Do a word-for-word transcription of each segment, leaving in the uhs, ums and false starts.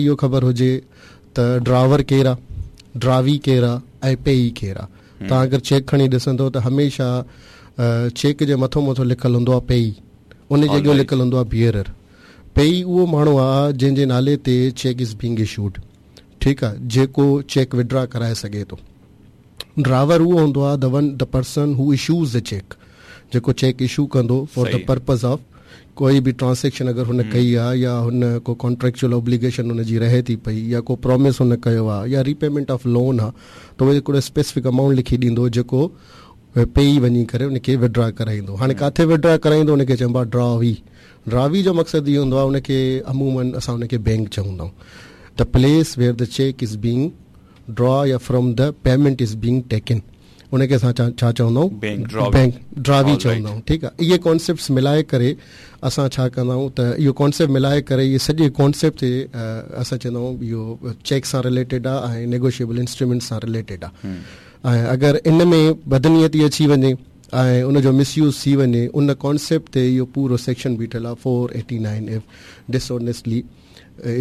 اهو خبر هجي ته ڊراور ڪير آهي، ڊراوي ڪير آهي ۽ پيئي ڪير آهي. توهان اگر چيڪ کڻي ڏسندو ته هميشه چيڪ جي مٿو مٿو لکيل هوندو آهي پيئي، ان جي اڳيان لکيل هوندو آهي بيئرر. پيئي اهو ماڻهو آهي جنهن جي نالي تي چيڪ is being issued, ٺيڪ آهي، جيڪو چيڪ وڊرا ڪرائي سگهي ٿو. ڊراور اهو هوندو آهي the one the person who issues the cheque, جيڪو چيڪ اشو ڪندو فار the purpose of ڪوئي به ٽرانزيڪشن اگر هن ڪئي آهي يا هن ڪو ڪانٽريڪچوئل اوبليگيشن هن جي رهي ٿي پئي يا ڪو پرومس هن ڪيو آهي يا ريپيمينٽ آف لون آهي ته اهو هڪڙو اسپيسفڪ امائونٽ لکي ڏيندو جيڪو پيئي وڃي ڪري ان کي وڊرا ڪرائيندو. هاڻي ڪاٿي وڊرا ڪرائيندو ان کي چئبو آهي ڊراوي. ڊراوي جو مقصد اهو هوندو آهي ان کي عمومن اسان ان کي بينڪ چوندا آهيون، the place where the cheque is being draw يا from the payment is being taken, ان کي اسان ڇا چوندا آهيون بينڪ ڊراوي چوندا آهيون. ٺيڪ آهي، اهي ڪانسيپٽس ملائي ڪري اسان ڇا ڪندا آهيون ته اهو ڪانسيپٽ ملائي ڪري اهي سڄي ڪانسيپٽ تي اسان چوندا آهيون اهو چيڪ سان رليٽيڊ آهي ۽ نيگوشيبل انسٽرومينٽ سان رليٽيڊ آهي. ۽ اگر ان ۾ بدنيتي اچي وڃي ۽ ان جو مس يوز ٿي وڃي، ان ڪانسيپٽ تي اهو پورو سيڪشن بيٺل آهي four eighty nine F dishonestly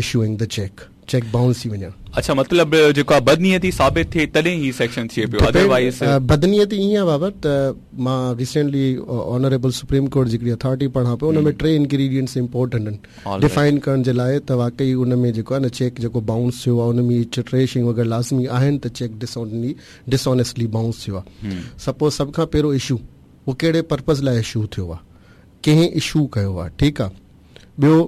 issuing the cheque, cheque bounce ٿي وڃڻ. اڇا، مطلب جيڪو آهي بدنيتي ثابت ٿئي تڏهن هي سيڪشن ٿئي پيو، ادروائز بدنيتي ائين آهي بابا ته مان ريسينٽلي آنريبل سپريم ڪورٽ جي هڪڙي اٿارٽي پڙهان پيو، ان ۾ ٽي انگريڊينٽس امپورٽنٽ آهن ڊفائن ڪرڻ جي لاء ته واقعي ان ۾ جيڪو آهي نه چيڪ جيڪو باؤنس ٿيو آهي ان ۾ ٽي شيون اگر لازمي آهن ته چيڪ ڊسآنيسٽلي باؤنس ٿيو آهي. سپوز سڀ کان پهريون اشو اهو ڪهڙي پرپز لاء اشو ٿيو آهي، ڪنهن اشو ڪيو آهي، ٺيڪ آهي. ٻيو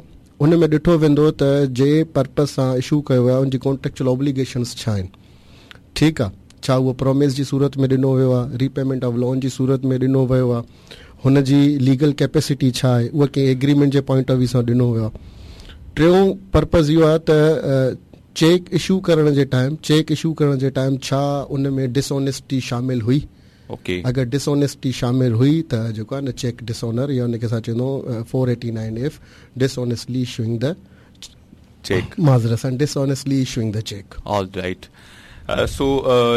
ان ۾ ڏٺو ويندو ته جي پرپز سان اشو ڪيو ويو آهي ان جي ڪانٽريڪچوئل اوبليگيشنس ڇا آهن، ٺيڪ آهي، ڇا اهو پرومس جي صورت ۾ ڏنو ويو آهي، ريپيمينٽ آف لون جي صورت ۾ ڏنو ويو آهي، هن جي ليگل ڪيپيسٽي ڇا آهي، اها ڪنهن ايگريمينٽ جي پوائنٽ آف ويو سان ڏنو ويو آهي. ٽيون پرپز اهو آهي ته چيڪ اشو ڪرڻ جي ٽائيم چيڪ اشو ڪرڻ جي ٽائيم ڇا ان ۾ ڊسآنيسٽي شامل هئي. اگر ڊسآنيسٽي شامل هئي ته جيڪو آهي نه چيڪ ڊسآنر يا ان کي اسان چوندو four eighty nine F dishonestly issuing the cheque, معذرت سان dishonestly issuing the cheque. All right, so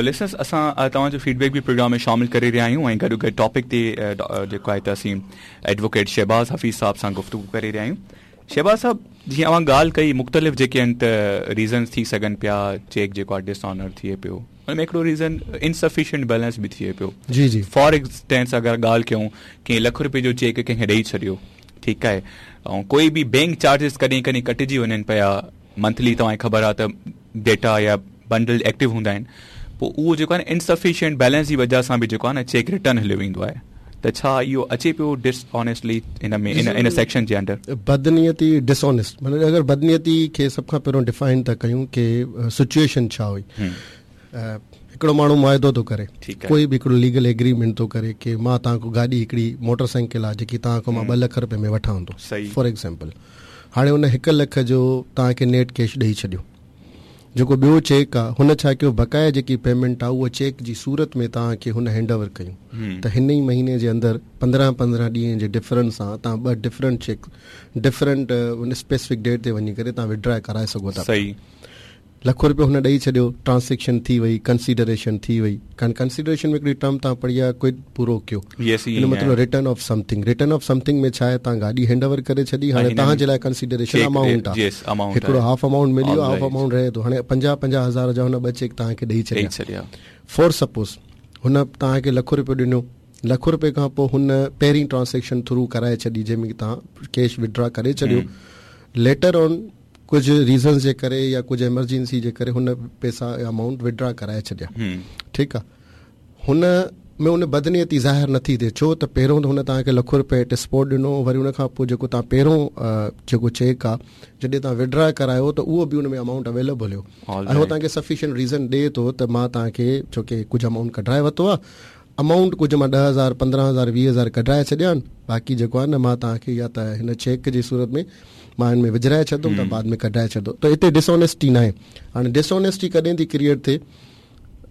listeners اسان توهان جو فيڊ بيڪ به پروگرام ۾ شامل ڪري رهيا آهيون ۽ گڏو گڏ ٽاپڪ تي جيڪو آهي ته اسين ايڊووڪيٽ شهباز حفيظ صاحب سان گفتگو ڪري رهيا آهيون. شهباز صاحب جيئن اوهان ڳالهه ڪئي مختلف جيڪي آهن ته ريزنس ٿي سگهن پيا چيڪ جيڪو آهي ڊس آنر ٿئي پيو، ان ۾ هڪڙو ريزن انسفيشنٽ بيلنس به ٿئي پيو. جي جي فار انسٽنس اگر ڳالهه ڪيون ڪنهن لک روپئي جو چيڪ ڪنهن کي ڏئي ڇڏيو، ٺيڪ آهي، ۽ ڪوئي به بينڪ چارجز ڪڏهن ڪڏهن ڪٽجي وڃن پيا منٿلي، توهان کي خبر آهي ته ڊيٽا يا بنڊل ايڪٽو هوندا آهن، پوء اهو جيڪو آهي نه انسفيشنٽ بيلنس جي وجهه سان به جيڪو آهي نه چيڪ ريٽرن هليو ويندو آهي، ته ڇا اهو اچي پيو ڊس آنيسٽلي ان ۾ ان ان سيڪشن جي انڊر؟ بدنيتي ڊس آنيسٽ معنيٰ اگر بدنيتي کي سڀ کان پهريون ڊفائن ٿا ڪيون ڪي سچوئيشن ڇا هئي. هڪڙو ماڻهو معاهدو ٿو ڪري، ڪوئي به هڪڙو ليگل ايگريمينٽ ٿو ڪري ڪي مان توهان کان گاڏي هڪڙي موٽر سائيڪل آهي جيڪي توهان کان مان ٻه لک رپئي ۾ وٺان ٿو فار ايگزامپل، هاڻي ان هڪ لک جو توهان کي نيٽ ڪيش ڏئي ڇڏيو، جيڪو ٻيو چيڪ آهي هن ڇا ڪيو بقايا جيڪي پيمينٽ آهي اها چيڪ جي صورت ۾ توهان کي هن هينڊ اوور ڪيون ته هن ئي مهيني جي اندر پندرهن پندرهن ڏينهن جي ڊفرنس سان توهان ٻه ڊفرنٽ چيڪ ڊفرنٽ ان اسپيسفڪ ڊيٽ تي وڃي ڪري توهان وڊرا ڪرائي سگهو ٿا. لک روپيو هن ڏئي ڇڏيو، ٽرانزيڪشن ٿي وئي، ڪنسيڊريشن ٿي وئي. ڪان ڪنسيڊريشن ۾ هڪڙي ٽرم توهان پڙهي آهي ڪوئڊ پرو ڪيو، ان مطلب return of something. Return of something ۾ ڇا آهي توهان گاڏي هينڊ اوور ڪري ڇڏي، هاڻي توهان جي لاء ڪنسيڊريشن امائونٽ آهي، هڪڙو هاف امائونٽ ملي ويو، هاف امائونٽ رهي ٿو. هاڻي پنجاهه پنجاهه هزار جا هن ٻه چيڪ توهان کي ڏئي ڇڏيا. فار سپوز هن توهان کي لک روپيو ڏنو، لک روپئي کان پوء هن پهرين ٽرانزيڪشن ٿرو ڪرائي ڇڏي جنهن ۾ توهان ڪيش وڊرا ڪري ڇڏيو، ليٽر آن ڪجهه ريزنز جي ڪري يا ڪجهه ايمرجنسي جي ڪري هن پئسا يا امائونٽ وڊرا ڪرائي ڇڏيا، ٺيڪ آهي. هن ۾ ان بدنيتي ظاهر نٿي ٿئي، ڇو ته پهريون ته هن توهان کي لک روپئي ايٽ اسپاٽ ڏنو، وري ان کان پوء جيڪو توهان پهريون جيڪو چيڪ آهي جڏهن توهان وڊرا ڪرايو ته اهو به ان ۾ امائونٽ اويليبل هيو ۽ هو توهان کي سفيشنٽ ريزن ڏئي ٿو ته مان توهان کي ڇو ڪي ڪجهه امائونٽ ڪڍرائي ورتو آهي، امائونٽ ڪجهه مان ڏهه هزار پندرهن هزار ويهه هزار ڪڍرائي ڇڏيا آهن، باقي جيڪو آهي نه مان توهان کي يا ته هن چيڪ جي صورت ۾ مان هن ۾ وجهرائي ڇڏندم ته بعد ۾ ڪڍرائي ڇڏندو. ته هتي ڊسآنيسٽي ناهي. هاڻي ڊسآنيسٽي ڪڏهن ٿي ڪريئيٽ ٿئي،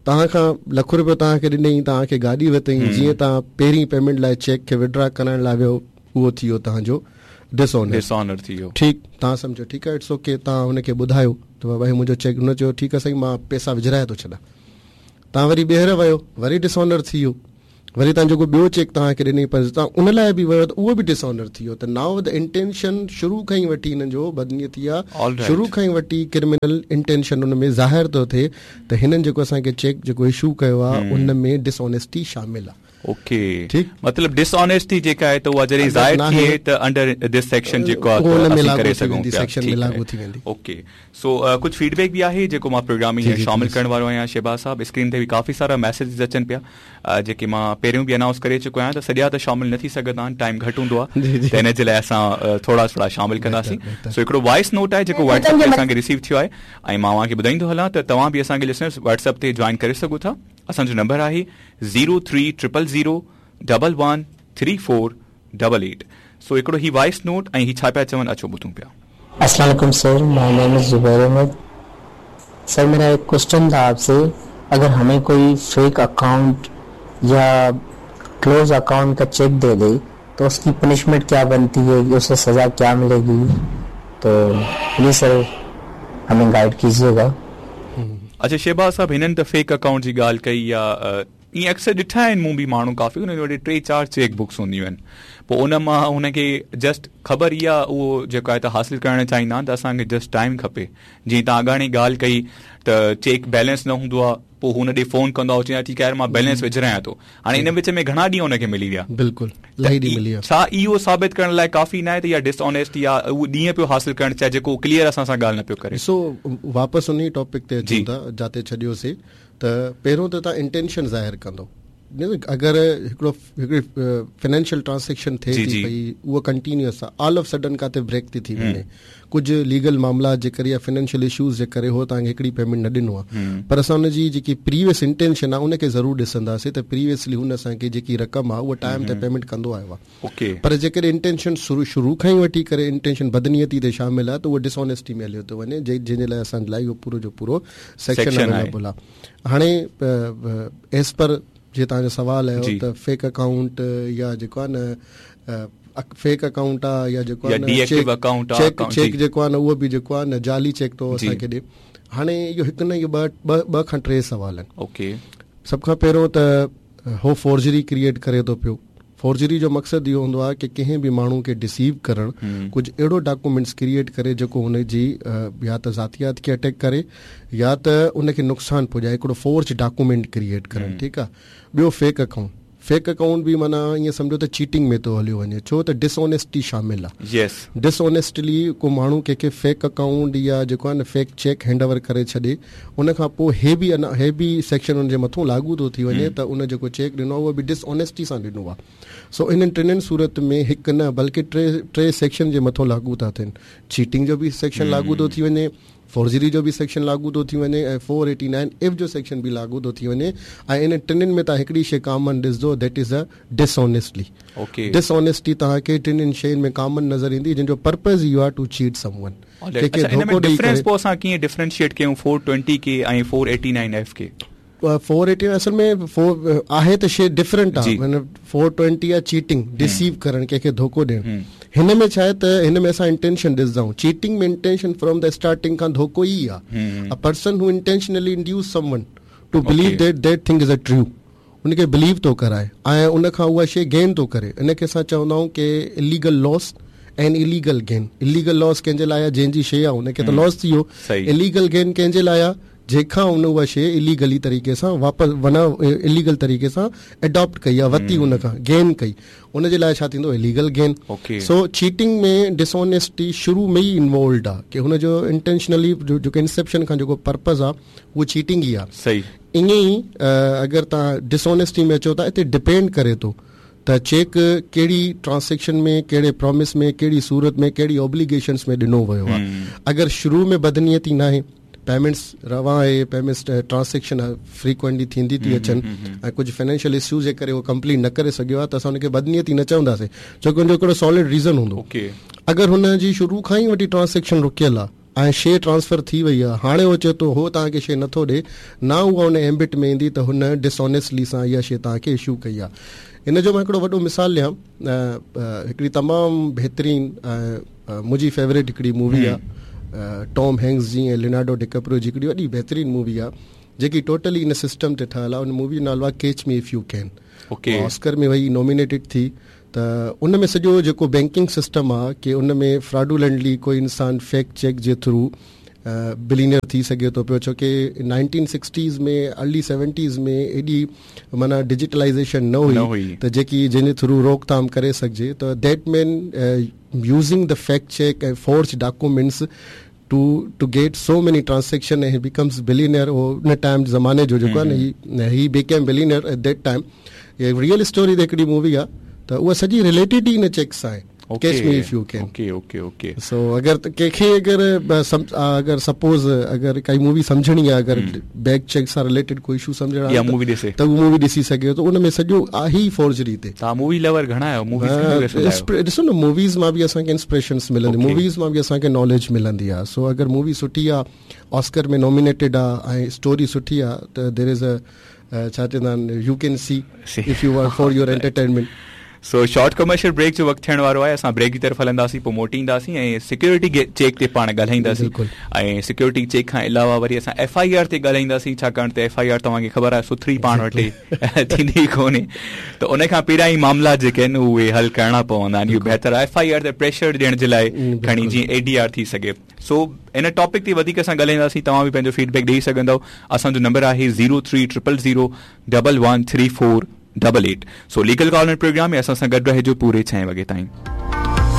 توهان کان لک روپيو توهان کي ڏنئي، توهان کي گاڏي ورتئي، جيئن توهان پهرين پيمينٽ لاء چيڪ کي وڊرا ڪرائڻ لاء ويو اهو ٿي ويو توهان جو ڊسآنر ڊسآنر ٿي ويو. ٺيڪ، توهان سمجهو ٺيڪ آهي it's okay, توهان هن کي ٻڌايو ته بابا هي منهنجو چيڪ، هن چيو ٺيڪ آهي سائين مان پئسا وجهرائي ٿو ڇڏان، توهان وري ٻيهر ويو وري ڊسآنر ٿي ويو. वरी तव्हां जेको ॿियो चेक तव्हांखे ॾिनई पर तव्हां उन लाइ बि वियो त उहो बि डिसऑनर थी वियो। त now the intention शुरू खां ई वठी हिननि जो बदनीयती आहे, शुरू खां ई वठी क्रिमिनल इंटेंशन उन में ज़ाहिर थो थिए त हिननि जेको असांखे चेक जेको इशू कयो आहे उन में डिसऑनेस्टी शामिल आहे। ओके, ठीक, मतलब डिसऑनेस्टी जेका आहे त उहा जॾहिं ज़ाहिर थिए त अंडर this section जेको आहे असीं करे सघूं पिया, सेक्शन में लागू थी वेंदी। ओके, सो कुझु फीडबैक बि आहे जेको मां प्रोग्राम में शामिल करण वारो आहियां। शहबाज साहब, स्क्रीन ते बि काफ़ी सारा मैसेजेस अचनि पिया जेके मां पहिरियों बि अनाउंस करे चुको आहियां त सॼा त शामिल न थी सघंदा आहिनि, टाइम घटि हूंदो आहे, त हिन जे लाइ असां थोरा थोरा शामिल कंदासीं। सो हिकिड़ो वॉइस नोट आहे जेको व्हाट्सएप ते असांखे रिसीव थियो आहे ऐं मां तव्हांखे ॿुधाईंदो हलां त तव्हां बि असांखे लिसनर्स व्हाट्सएप ते जॉइन करे सघो था। असांजो नंबर आहे zero three triple zero double one three four double eight. So हिकिड़ो ही वॉइस नोट ऐं ही छा पिया चवनि, अचो ॿुधूं पिया। अस्सलाम वालेकुम sir, my name is Zubair Ahmed. Sir मेरा एक क्वेश्चन था आपसे, अगर हमें कोई फेक अकाउंट या क्लोज अकाउंट का चेक दे दे तो उसकी पनिशमेंट क्या बनती है, उसे सज़ा क्या मिलेगी? तो प्लीज़ सर हमें गाइड कीजिएगा। अच्छा शहबाज साहब, हिननि त फेक अकाउंट जी ॻाल्हि कई या ईअं अक्सर ॾिठा आहिनि मूं बि माण्हू काफ़ी हुननि वटि टे चारि चेक बुक्स हूंदियूं आहिनि, पोइ उन मां हुनखे जस्ट ख़बर इहा उहो जेको आहे त हासिल करणु चाहींदा आहिनि त असांखे जस्ट टाइम खपे। जीअं तव्हां अॻाणी ॻाल्हि कई त चेक बैलेंस न हूंदो आहे, पोइ हुन ॾे फोन कंदो आहे, चवंदो ठीकु आहे मां बैलेंस विझारायां थो, हाणे इन विच में घणा ॾींहं हुनखे मिली विया। बिल्कुलु मिली विया। छा इहो साबित करण लाइ काफ़ी न आहे त इहा डिसऑनेस्टी या उहो ॾींहं पियो हासिल करणु चाहे जेको क्लियर असां सां ॻाल्हि न पियो करे? सो वापसि उन ई टॉपिक ते अचूं था जाते छॾियोसीं। त पहिरियों त तव्हां इंटेंशन ज़ाहिर कंदो, अगरि हिकिड़ो हिकिड़ी फाइनेंशियल ट्रांज़ैक्शन थिए थी पई उहा कंटिन्यूअस आहे, ऑल ऑफ सडन किथे ब्रेक थी थी वञे, कुझु लीगल मामला जे करे या फाइनेंशियल इशूज़ जे करे हो तव्हांखे हिकिड़ी पेमेंट न ॾिनो आहे, पर असां हुनजी जेकी प्रीवियस इंटेंशन आहे उनखे ज़रूरु ॾिसंदासीं त प्रीवियसली हुन असांखे जेकी रक़म आहे उहा टाइम ते पेमेंट कंदो आयो आहे। पर जेकॾहिं इंटेंशन शुरू शुरू खां ई वठी करे इंटेंशन बदनीयती ते शामिल आहे त उहो डिसऑनेस्टी में हलियो थो वञे, जंहिंजे लाइ असांजे लाइ इहो पूरो जो पूरो सेक्शन अवेलेबल आहे। हाणे एज़ पर जीअं तव्हांजो सवालु आयो त फेक अकाउंट या जेको आहे न फेक अकाउंट आहे या जेको आहे चेक चेक जेको आहे न उहो बि जेको आहे न जाली चेक थो असांखे ॾिए। हाणे इहो हिकु न इहो ॿ ॿ खां टे सवाल आहिनि। ओके, सभ खां पहिरियों त हो फोर्जरी क्रिएट करे थो पियो। फोर्जरी जो मक़सदु इहो हूंदो आहे की कंहिं बि माण्हू खे डिसीव करणु, कुझु अहिड़ो डॉक्यूमेंट्स क्रिएट करे जेको हुनजी या त ज़ातियात खे अटैक करे या त उनखे नुक़सानु पुॼाए, हिकिड़ो फोर्ज डॉक्यूमेंट क्रिएट करणु, ठीकु आहे। ॿियो फेक अकाउंट, फेक अकाउंट बि माना ईअं सम्झो त चीटिंग में थो हलियो वञे, छो त डिसऑनेस्टी शामिल आहे। यस, डिसऑनेस्टली को माण्हू कंहिंखे फेक अकाउंट या जेको आहे न फेक चेक हैंड ओवर करे छॾे, उन खां पोइ हे बि अञा हे बि सेक्शन हुनजे मथां लागू थो थी वञे त उन जेको चेक ॾिनो आहे उहो बि डिसऑनेस्टी सां ॾिनो आहे। सो इन्हनि टिनिनि सूरत में हिकु न बल्कि टे टे सेक्शन जे मथां लागू था थियनि। चीटिंग जो बि सेक्शन लागू थो थी वञे, फोर्जरी जो बि सेक्शन लागू थो थी वञे ऐं फोर एटी नाइन एफ जो सेक्शन बि लागू थो थी वञे। ऐं इन टिनिनि में तव्हां हिकिड़ी शइ कॉमन ॾिसंदो, that is a dishonesty. Okay, dishonesty तव्हांखे टिनिनि शयुनि में कॉमन नज़र ईंदी, जंहिंजो पर्पज़ इहो आहे टू चीट समवन। डिफरेंस पोइ असां कीअं डिफरेंशिएट कयूं फोर ट्वेंटी के ऐं फोर एटी नाइन एफ खे? फोर एटी असल में फोर आहे त शइ डिफरेंट आहे, माना फोर ट्वेंटी आहे चीटिंग, डिसीव करणु, कंहिंखे धोखो ॾियणु। हिन में छा आहे त हिन में असां इंटेंशन ॾिसंदा आहियूं। चीटिंग में इंटेंशन फ्रॉम the starting खां धोखो ई आहे। A person who intentionally induce someone to believe that that thing is a true, उनखे बिलीव थो कराए ऐं उन खां उहा शइ गेन थो करे, इनखे असां चवंदा आहियूं की illegal loss and illegal gain. Illegal loss कंहिंजे लाइ आहे? जंहिंजी शइ आहे उनखे त लॉस थी वियो। इलीगल गेन कंहिंजे लाइ आहे? जंहिंखां हुन उहा शइ इलीगली तरीक़े सां वापसि वना इलीगल तरीक़े सां अडॉप्ट कई आहे, वरिती, हुन खां गेन कई, उनजे लाइ छा थींदो? Illegal gain. सो चीटिंग में डिसऑनेस्टी शुरू में ई इन्वॉल्वड आहे की हुनजो इंटेंशनली जेको इंसेप्शन खां जेको पर्पज़ आहे उहो चीटिंग ई आहे। सही, ईअं ई अगरि तव्हां डिसऑनेस्टी में अचो था, हिते डिपेंड करे थो त चेक कहिड़ी ट्रांज़ैक्शन में, कहिड़े प्रॉमिस में, कहिड़ी सूरत में, कहिड़ी ऑब्लिगेशंस में ॾिनो वियो आहे। अगरि शुरू में बदनीयती न आहे, पेमेंट्स रवां आहे, पेमेंट्स ट्रांज़ैक्शन फ्रीक्वेंटली थींदी थी अचनि ऐं कुझु फाइनेंशियल इश्यूज़ जे करे उहो कंप्लीट न करे सघियो आहे त असां हुनखे बदनीयती न चवंदासीं, छो की हुनजो हिकिड़ो सॉलिड रीज़न हूंदो। अगरि हुनजी शुरू खां ई वठी ट्रांज़ैक्शन रुकियल आहे ऐं शइ ट्रांसफ़र थी वई आहे, हाणे उहो चए थो हो तव्हांखे शइ नथो ॾिए, न उहा हुन एम्बिट में ईंदी त हुन डिसऑनेस्टली सां इहा शइ तव्हांखे इशू कई आहे। इन जो मां हिकिड़ो वॾो मिसाल ॾियां, हिकिड़ी तमामु बहितरीन मुंहिंजी फेवरेट हिकिड़ी मूवी आहे टॉम हैंक्स जी ऐं लियोनार्डो डिकैप्रियो जी हिकिड़ी वॾी बहितरीन मूवी आहे जेकी टोटली इन सिस्टम ते ठहियलु आहे। उन मूवी जो नालो आहे catch me if you can. Okay. Oscar ۾ وئي نامينيٽيڊ ٿي ته ان ۾ سڄو جيڪو بينڪنگ سسٽم آهي ڪي ان ۾ فراڊولنٽلي ڪوئي انسان فيڪ چيڪ جي ٿرو بلينيئر ٿي سگهي ٿو پيو ڇو ڪي نائنٽين سڪسٽيز ۾ ارلي سيونٽيز ۾ ايڏي معنيٰ ڊجيٽلائيزيشن نه هئي ته جيڪي جنهن جي ٿرو روڪٿام ڪري سگهجي ته that man using the fake cheque ۽ forge documents to to get so many transaction ۽ becomes billionaire اهو ان ٽائيم زماني جو جيڪو آهي نه he became billionaire at that time real story تي هڪڙي مووي آهي ته اها سڄي رليٽيڊ ئي ان چيڪ سان آهي catch me if you can okay okay okay so اگر ڪنهن کي اگر اگر سپوز اگر ڪائي مووي سمجهڻي آهي اگر بينڪ چيڪ سان رليٽيڊ ڪوئي اشو سمجهڻو آهي مووي ڏسي ته اهو مووي ڏسي سگهي ٿو ان ۾ سڄو آهي ئي فورجري تي توهان مووي لور گهڻا آهيو موويز ڏسو نه موويز مان به اسان کي انسپريشنس ملندي موويز مان به اسان کي ناليج ملندي آهي سو اگر مووي سٺي آهي آسڪر ۾ نامينيٽيڊ آهي ۽ اسٽوري سٺي آهي ته دير از ا ڇا چوندا آهن you can see if you are for your entertainment so short commercial break جو وقت ٿيڻ وارو آهي اسان بريڪ جي طرف هلنداسين پوءِ موٽي اينداسين ۽ سيڪيورٽي چيڪ تي پاڻ ڳالهائينداسين ۽ سيڪيورٽي چيڪ کان علاوه وري اسان ايف I R تي ڳالهائينداسين ڇاڪاڻ ته ايف I R توهان کي خبر آهي سٿري پاڻ وٽ ٿيندي ڪونهي ته ان کان پهريان ئي معاملا جيڪي آهن اهي حل ڪرڻا پوندا آهن اهو بهتر آهي ايف I R تي پريشر ڏيڻ جي لاء کڻي جيئن اي ڊي آر ٿي سگهي سو ان ٽاپڪ تي وڌيڪ اسان ڳالهائينداسين توهان به پنهنجو فيڊ بيڪ ڏيئي سگهندؤ اسان جو نمبر آهي zero three triple zero double one three four double eight so legal corner programme ۾ اسان سان گڏ رهجو پوري ڇهين وڳي تائين.